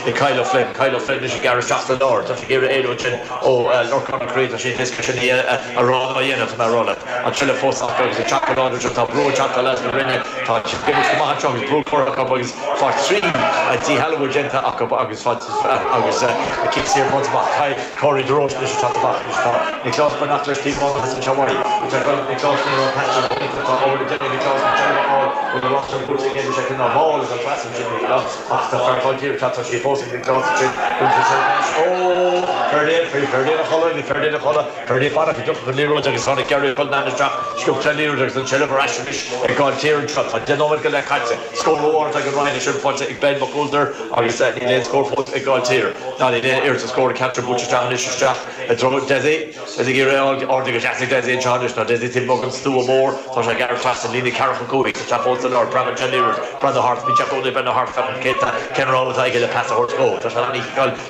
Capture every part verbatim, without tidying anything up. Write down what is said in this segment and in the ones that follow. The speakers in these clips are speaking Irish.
ag Kyle O'Flynn Kyle O'Flynn is gearr seach lár Tá sé géire éú sin ó Lorcán Creed sé sin a rá a dhéanamh mar rolle. An tseilbh fós agus a teacht tá brú teacht leis na Rinne tá agus brú chur agus fá trí díshealbhú déanta acu agus agus cic saor amach Corey DeRoche leis amach Nicholas Bernat leis tí Scór ag Ben McCoulter agus níl aon scór fós ag Gailltír. Ná ní ar a scór capture buaite isteach Desi is ag iarraidh ard go deas Desi an ná Desi tí an stua mór tá sé gearr trasna líne ceathracha cúig tá fós ar Brandon Jenner Brandon Hart bhí Jack Ben Hart céta Ken Roll ag le pas a go Tá sé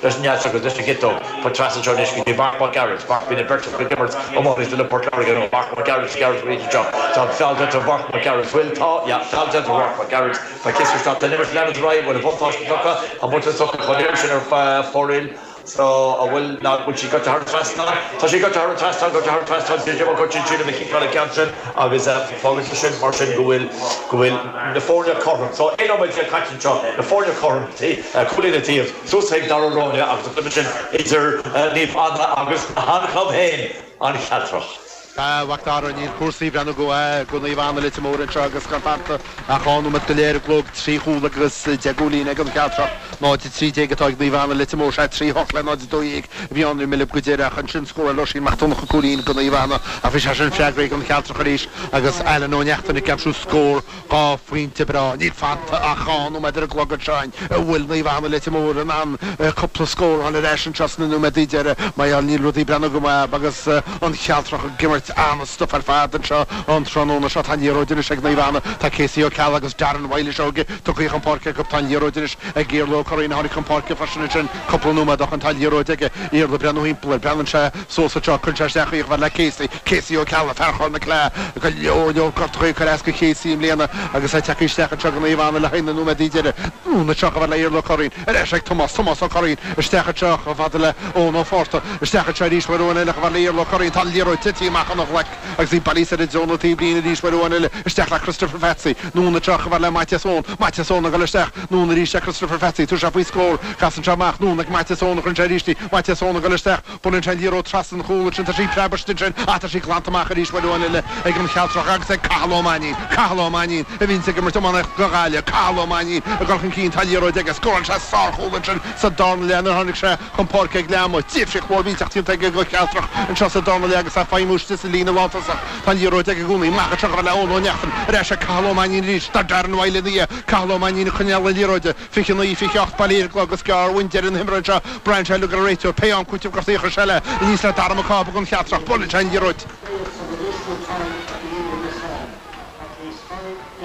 leis ne agus leis gitó pa tras seo go Mark McGarrett Mark bína bert go gimmert om le Port Láirge Mark McGarrett Garrett job Tá foul to Mark McGarrett will tá ja foul to Mark McGarrett Tá kiss stop den nimmer lean roi bhfuil buntáiste tugtha an buntáiste tugtha chun sin ar foil so a bhfuil ná bhfuil sí go thar trasna Tá sí go thar trasna go thar trasna go sin a chiála cean sin agus fágann sin mar sin go bhfuil go bhfuil na foirne cothrom so aon caite seo na foirne cothrom cúilín an taobh suas ag Dara Ráine agus sin idir Naomh Anna agus an chlub féin an Chealtrach. Bhactar níl cúrsaí breathnú go go Naomh Anna Leitir Móir anseo agus gan fanta ach dhá nóiméad go leith ar an gclog trí chúl agus deich gcúilín ag an Chealtrach náid trí déag atá ag Naomh Anna Leitir Móir sé trí hocht le náid dó dhéag a bhí ann mille go deireadh ansin scóráil Oisín Mac Donncha cúilín go Naomh Anna ach bhí sé sin freagraithe ag an Chealtrach arís agus Alan Ó Neachtain ag aimsiú scór dhá phointe breá níl fanta ach dhá nóiméad ar an gclog anseo an bhfuil Naomh Anna Leitir Móir in ann cúpla scór a fháil ar ais anseo sna nóiméadaí deiridh mar níl rudaí breathnú go maith agus an Chealtrach ag imirt an-stuif ar fad anseo an tráthnóna seo tá an liathróid anois ag Naomh Anna tá Casey Ó Ceallaigh agus Darren Wiley seo tugtha chun páirce acu tá an liathróid anois ag Iarla Ó Curraoin a tháinig chun páirce freisin ansin cúpla nóiméad ó shin tá an liathróid aige Iarla breathnú thimpeall air breathnaíonn sé suas anseo cuireann sé isteach í chomh fada le Casey Casey Ó Ceallaigh fear Chorr na Cille go leor leor gortuithe curtha as go Casey i mbliana agus é tagtha isteach anseo go Naomh Anna le haghaidh na nóiméadaí deiridh anonn anseo chomh fada le Iarla Ó Curraoin ar ais ag Tomás Tomás Ó Curraoin isteach anseo chomh fada le Eoin Ó Fátharta isteach anseo arís uair amháin eile chomh fada le Iarla Ó Curraoin tá an liathróid tite amach óna ghlaic agus í bailithe soir i dtreo na taobhlíne arís uair amháin eile isteach le Christopher Fatsi anonn anseo chomh fada le Maitias Eoin Maitias Eoin ag dul isteach anonn arís le Christopher Fatsi tá sé faoi scór casann sé amach anonn ag Maitias Eoin a chuireann sé arís í Maitias Eoin ag dul isteach buaileann sé an liathróid trasna an chúil ansin tá sí preabadh sin ach tá sí glanta amach arís uair amháin eile ag an Chealtrach agus ag Cathal Ó Mainnín Cathal Ó Mainnín a bhíonn ag imirt iománaíocht go Gaillimh Cathal Ó Mainnín ag dul chun cinn tá an liathróid aige scóráil sé sárchúl ansin sa darna leath nuair a tháinig sé chun páirce ag leath ama difríocht mhór millteach déanta aige go Chealtrach anseo sa darna leath agus é ag feidhmiú istigh sa líne lántosach tá an liathróid aige i gcónaí amach anseo chomh fada le Eoin Ó Neachtain ar ais ag Cathal Ó Mainnín arís tá Darren Wiley ina dhiaidh Cathal Ó Mainnín ag coinneáil na liathróide fiche naoi fiche ocht bailithe ar an gclog is gearr uainn deireadh na himeartha anseo Brian Shelley gur réiteoir pé am cúiteamh gortaithe chuir sé le aníos le Dara Mac Cába don Chealtrach buaileann sé an liathróid.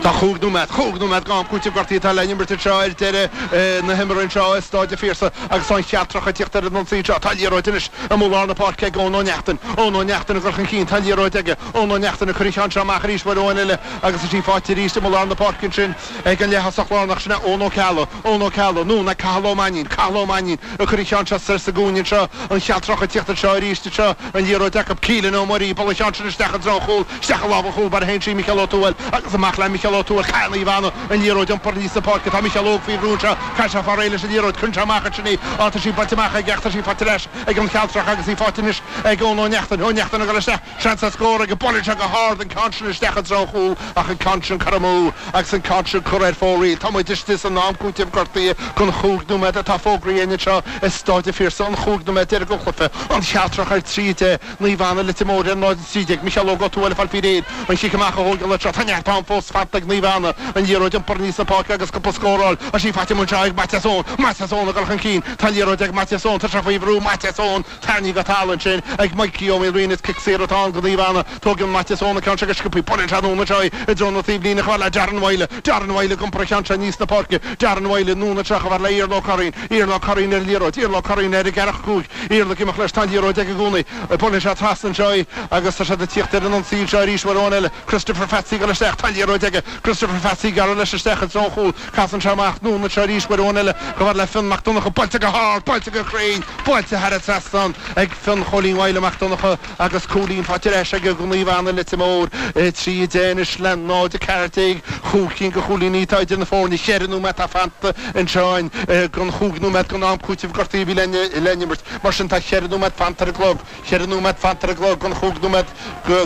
Tá chúig nóiméad, chúig nóiméad d'am cúitimh gortaithe atá le n-imirt anseo ar deireadh na himeartha anseo i Stáid an Phiarsaigh agus tá an Chealtrach ag tíocht ar an ionsaí anseo. Tá an liathróid anois amuigh lár na páirce ag Eoin Ó Neachtain. Eoin Ó Neachtain ag dul chun cinn, tá an liathróid aige. Eoin Ó Neachtain ag cur an cheann seo amach arís uair amháin eile agus tá sí faighte arís amuigh lár na páirce ansin ag an leath-thosach lárnach, sin é Eoin Ó Ceallaigh. Eoin Ó Ceallaigh, anonn ag Cathal Ó Mainnín. Cathal Ó Mainnín ag cur an cheann seo soir sa gcúinne anseo. An Chealtrach ag tíocht anseo arís anseo. An liathróid acu. Keelan Ó Muirí, buaileann an ceann sin isteach i dtreo an chúil, isteach i lámh an chúl bar a théann sí, Micheál Ó Tuathail, agus amach le Micheál Ó Tuathail. Caithfidh Naomh Anna an liathróid iompar aníos na páirce. Tá Micheál Óg faoi bhrú anseo. Caithfidh sé fáil réidh leis an liathróid. Cuireann sé amach ansin í. Á, tá sí buailte amach aige ach tá sí faighte ar ais ag an Chealtrach agus í faighte anois ag Eoin Ó Neachtain. Ó Neachtain ag dul isteach. Seans ar scór aige. Buaileann sé go hard an ceann sin isteach i dtreo an chúil ach an ceann sin curtha amú agus an ceann sin curtha ar fóraoil. Tá muid istigh san am cúitimh gortaithe den chúig nóiméad atá fógraithe againn anseo i Stáid an Phiarsaigh, an chúig nóiméad deiridh den chluiche. An Chealtrach ar trí a deich, Naomh Anna Leitir Móir ar náid a trí déag, Micheál Óg Ó Tuathail ag fáil faoi réir an chic amach a thógáil anseo. Tá neart am fós fanta ag Naomh Anna an liathróid iompar aníos na páirce agus cúpla scór a fháil. Tá sí faighte anseo ag Maitias Eoin. Maitias Eoin ag dul chun cinn. Tá an liathróid ag Maitias Eoin. Tá sé faoi bhrú. Maitias Eoin tarraingthe go talamh ansin ag Mikey Ó Maoilriain. Is cic saor atá ann do Naomh Anna. Tógann Maitias Eoin an ceann seo go sciobtha. Buaileann sé anonn anseo í i dtreo na taobhlíne chomh fada le Darren Wylie. Darren Wylie ag iompar an cheann seo aníos na páirce. Darren Wylie anonn anseo chomh fada le Iarla Ó Curraoin. Iarla Ó Curraoin ar an liathróid. Iarla Ó Curraoin ar an gceathracha cúig. Iarla ag imeacht leis. Tá an liathróid aige i gcónaí. Buaileann sé trasna anseo í agus tá siad ag tíocht ar an ionsaí anseo arís uair amháin eile. Christopher Fatsi ag dul isteach. Tá an liathróid aige. Christopher Fatsy gearradh leis isteach i dtreo an chúil, casann sé amach anonn anseo arís uair amháin eile chomh fada le Fionn Mac Donncha, buailte go hard, buailte go cruinn, buailte thar an trasnán ag Fionn Chóilín Mhaidhle Mac Donncha agus cúilín faighte ar ais ag Naomh Anna Leitir Móir, trí a deich anois le náid a ceathair déag, chúig cinn de chúilíní atá idir na foirne, cheithre nóiméad atá fanta anseo den chúig nóiméad den am cúitimh gortaithe a bhí le n-imirt, mar sin tá cheithre nóiméad fanta ar an gclog. Ceithre nóiméad fanta ar an gclog den chúig nóiméad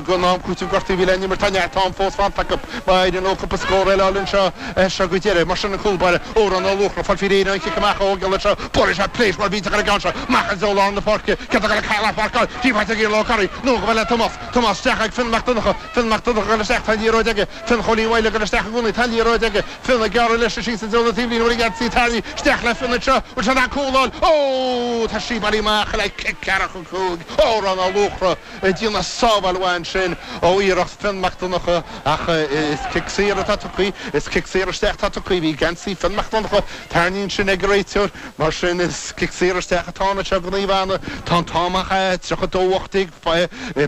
den am cúitimh gortaithe a bhí le n-imirt. Tá neart am fós fanta acu. Má éiríonn leo cúpla scór eile a fháil anseo as seo go deireadh. Mar sin an cúl báire, Odhrán Ó Luachra, fáil faoi réir an chic amach a thógáil anseo. Buaileann sé pléis mar bhíteach ar an gceann seo. Amach i dtreo lár na páirce. Céard atá le Cathal á pháirceáil? Díobháilte ag Iarla Ó Corraidh. Anonn chomh fada le Tomás. Tomás isteach ag Fionn Mac Donncha. Fionn Mac Donncha ag dul isteach. Tá an liathróid aige. Fionn Chóilín Mhaidhle ag dul isteach i gcónaí. Tá an liathróid aige. Fionn ag gearradh leis síos i dtreo na taobhlíne. Bhfuil an geansaí tarraingthe isteach le Fionn anseo. Bhfuil sé in ann cúl a fháil? Ó! Tá sí bailithe amach le cic ceathracha cúig. Odhrán Ó Luachra ag déanamh sábháil mhaith ansin ó iarracht Fionn Mac Donncha ach is cic saor atá tugtha, is cic saor isteach atá tugtha. Bhí geansaí Fionn Mac Donncha tarraingthe ansin ag an réiteoir, mar sin is cic saor isteach atá ann anseo do Naomh Anna. Tá an t-am ach tríocha dó ocht déag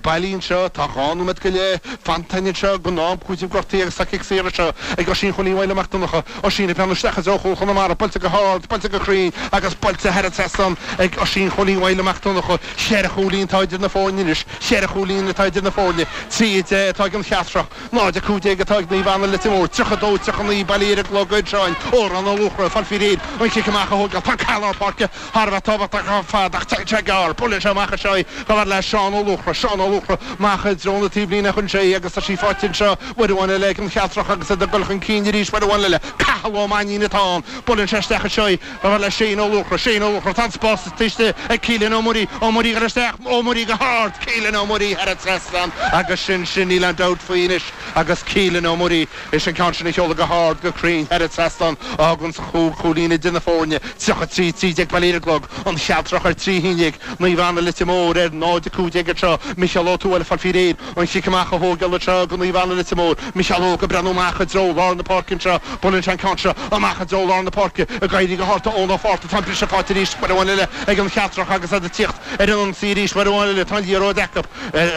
bailí anseo, tá dhá nóiméad go leith fanta anseo den am cúitimh gortaithe agus tá cic saor anseo ag Oisín Chóilín Mhaidhle Mac Donncha. Oisín ag breathnú isteach i dtreo chúl Chonamara, buailte go hard, buailte go cruinn agus buailte thar an trasnán ag Oisín Chóilín Mhaidhle Mac Donncha. Ceithre chúilín atá idir na foirne anois, ceithre chúilín atá idir na foirne. Trí a deich atá ag an Chealtrach, náid a cúig déag atá ag Naomh Anna Leitir Móir, tríocha dó tríocha naoi bailí ar an gclog anseo. Odhrán Ó Luachra, fáil faoi réir an cic amach a thógáil. Tá cath lár páirce thar a bheith tábhachtach ar fad ach téann sé gearr. Buaileann sé amach anseo í chomh fada le Seán Ó Luachra. Seán Ó Luachra amach i dtreo na taobhlíne a chuireann sé í agus tá sí faighte anseo uair amháin eile ag an Chealtrach agus iad ag dul chun cinn arís uair amháin eile. Cathal Ó Mainnín atá ann. Buaileann sé isteach anseo í chomh fada le Shane Ó Luachra. Shane Ó Luachra, tá an spás istigh ag Keelan Ó Muirí. Ó Muirí ag dul isteach, Ó Muirí go hard, Keelan Ó Muirí thar an trasnán agus sin sin, níl aon dabht faoi anois agus Keelan Ó Muirí is an ceann sin a sheoladh go hard, go cruinn thar an trasnán a fhágann chúig chúilín idir na foirne, tríocha trí, trí déag bailí ar an gclog, An Chealtrach ar trí haon déag, Naomh Anna Leitir Móir ar náid a cúig déag anseo, Micheál Ó Tuathail ag fáil faoi réir an chic amach a thógáil anseo do Naomh Anna Leitir Móir, Micheál Óg ag breathnú amach i dtreo lár na páirce anseo, buaileann sé an ceann seo amach i dtreo lár na páirce, ag éirí go hard tá Eoin Ó Fátharta, tá an briseadh faighte arís uair amháin eile ag an Chealtrach agus iad ag tíocht ar an ionsaí arís uair amháin eile, tá an liathróid acu,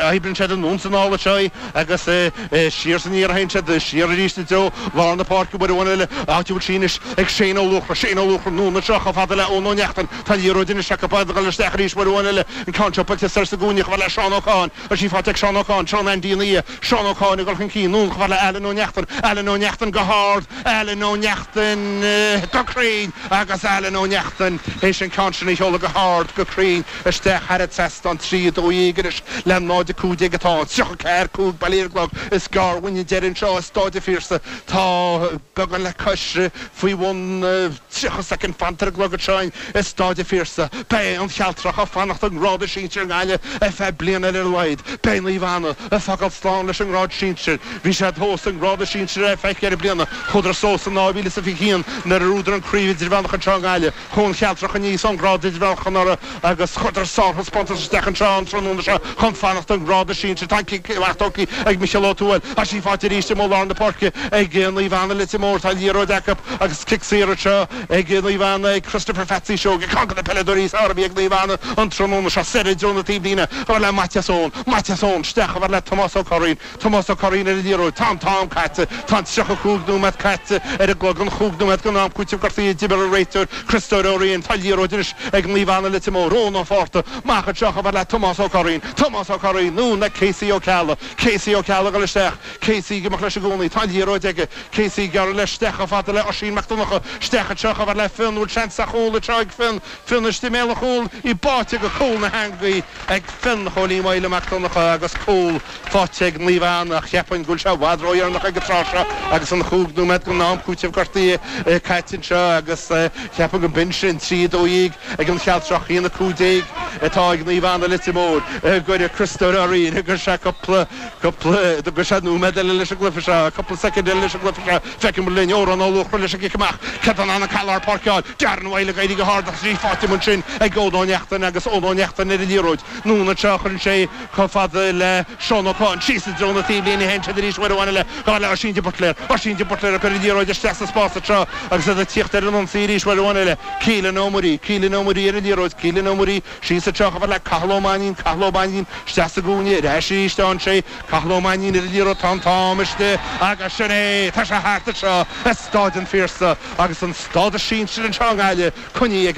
oibríonn siad anonn is anall anseo í agus siar is aniar a théann siad, siar arís i dtreo lár na páirce uair amháin eile, áit a bhfuil sí anois ag Shane Ó Luachra, Shane Ó Luachra anonn anseo chomh fada le Eoin Ó Neachtain, tá an liathróid anois acu, ag dul isteach arís uair amháin eile, an ceann seo buailte soir sa gcúinne chomh fada le Seán Ó Catháin, tá sí faighte ag Seán Ó Catháin, Seán Andy an Aodha, Seán Ó Catháin ag dul chun cinn, anonn chomh fada le Alan Ó Neachtain, Alan Ó Neachtain go hard, Alan Ó Neachtain go cruinn agus Alan Ó Neachtain théis an ceann sin a sheoladh go hard, go cruinn isteach thar an trasnán, trí a dó dhéag anois le náid a cúig déag atá ann, tríocha ceathair cúig bailí ar an gclog, is gearr uainn an deireadh anseo i Stáid an Phiarsaigh. Tá beagán le cois faoi bhun tríocha soicind fanta ar an gclog anseo i Stáid an Phiarsaigh. Beidh an Chealtrach ag fanacht i ngrád sinsir i nGaillimh ar feadh bliana eile ar a laghad. Beidh Naomh Anna ag fágáil slán leis an ngrád sinsir. Bhí siad thuas i ngrád sinsir ar feadh ceithre bliana. Chuadar suas in dhá mhíle is a fiche haon nuair a bhuadar an chraobh idirmheánach anseo i nGaillimh. Chuaigh an Chealtrach aníos ón ngrád idirmheánach anuraidh agus chuireadar sárthaispeántas isteach anseo an tráthnóna seo chun fanacht i ngrád sinsir. Tá an cic amach tógtha ag Micheál Ó Tuathail. Tá sí faighte arís i lár na páirce ag Naomh Anna Leitir Móir. Tá an liathróid acu agus cic saor anseo ag Naomh Anna ag Christopher Phatsy Seoige. Ceann de na peileadóirí is fearr a bhí ag Naomh Anna an tráthnóna seo. Soir i dtreo na taobhlíne chomh fada le Maitias Eoin. Maitias Eoin isteach chomh fada le Tomás Ó Curraoin. Tomás Ó Curraoin ar an liathróid. Tá an t-am caite. Tá an tríocha cúig nóiméad caite ar an gclog. An chúig nóiméad den am cúitimh gortaithe a d'imir an réiteoir Criostóir Ó Riain. Tá an liathróid anois ag Naomh Anna Leitir Móir. Eoin Ó Fátharta amach anseo chomh fada le Tomás Ó Curraoin. Tomás Ó Curraoin anonn le Casey Ó Ceallaigh. Casey Ó Ceallaigh ag dul isteach. Casey ag imeacht leis i gcónaí. Tá an liathróid aige. Casey ag gearradh leis isteach chomh fada le Oisín Mac Donncha. Isteach anseo chomh fada le Fionn. Bhfuil seans ar chúl anseo ag Fionn. Fionn istigh i mbéal an chúil. Í báite go cúl na heangaí ag Fionn Chóilín Mhaidhle Mac Donncha agus cúl faighte ag Naomh Anna ach cheapfainn go bhfuil sé i bhfad ródheireanach ag an tráth seo agus an chúig nóiméad den am cúitimh gortaithe caite anseo agus cheapfainn go mb'in sin trí a dó dhéag ag an Chealtrach, a haon a cúig déag atá ag Naomh Anna Leitir Móir. Go Criostóir Ó Riain agus sé cúpla cúpla go sé nóiméad eile leis an gcluiche seo, cúpla soicind eile leis an gcluiche seo. Feicim linn Odhrán Ó Luachra leis an gcic amach. Cad an an cal páirceáil Darren Wylie ag éirí go hard ach í faighte ansin ag Eoin Ó Neachtain agus Eoin Ó Neachtain ar an liathróid. Anonn anseo chuireann sé chomh fada le Seán Ó Catháin síos i dtreo na taobhlíne théann siad arís uair amháin eile chomh fada le Oisín de Buitléar. Oisín de Buitléar ag cur an liathróid isteach sa spás seo agus iad ag tíocht ar an ionsaí arís uair amháin eile Keelan Ó Muirí Keelan Ó Muirí ar an liathróid Keelan Ó Muirí síos anseo chomh fada le Cathal Ó Mainnín Cathal Ó Mainnín isteach sa gcúinne ar ais arís ansin Cathal Ó Mainnín ar an liathróid tá an t-am istigh agus sin é tá sé thart anseo i Staid an Phiarsaigh agus an stádas sinsir anseo i nGaillimh coinnithe ag an